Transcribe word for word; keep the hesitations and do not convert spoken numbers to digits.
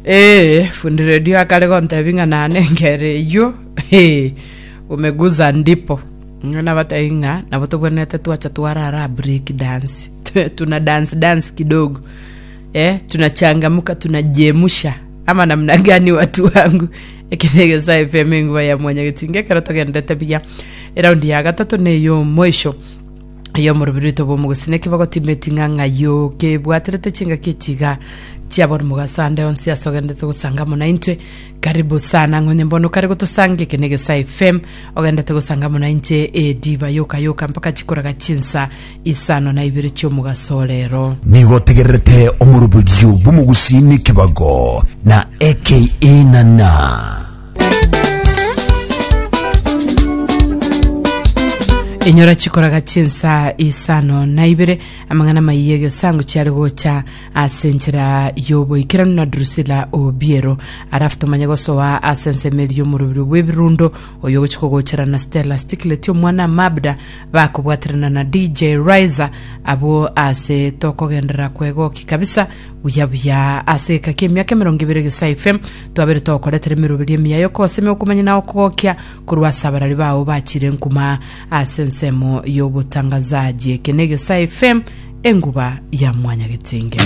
Eh, fundi redio akare gontebi ng'a nane engero eywo eh, umeguza ndipo Nigo nabatebi ng'a nabo tobwenerete twacha twarara break dance tuna dance dance kidogo eh, tunachangamka tunajemusha ama namna gani watu wangu eke ne Egesae FM enguba ya mwanyagetinga ekero togenderete buya eraundi ya gatato neyo mwisho ey'omorobiri oito bw'omogusii naki bagotimeti ng'a ng'ayo kebwaterete chingaki echiga chiaboro mogaso ande onsi ase ogendete gosanga amo naintwe karibu sana ng'onye mbono kare gotosanga eke ne Egesae FM ogendete gosanga amo nainche ediva yoka yoka mpaka chikoraga chinsa isano na ibere chi'omogaso rero. Nigo otegererete omoroberio bw'omogusii n'ekebago na aka nana. Inyora chikoraga chinsa isano na ibere amang'ana maiye egesango chiare gocha ase enchera y'oboikeranu na Drusilla Obiero alafu tomanye gosoa ase ensemo eria y'omorobiri bw'ebirundo oyo ogochi kogochera na Stella Sticklet omwana Mabda bakobwaterana na DJ Riser abwo ase tokogenderera kwegoki kabisa buya buya ase eka kia emiaka emerongo ebere Egesae FM twabere togokoretera emeroberi emiya yokosemia okomanya na okogokia korwa ase abarari bao bachire nkuma ase ensemo y'obotangazaji eke ne Egesae FM enguba ya mwanyagetinge.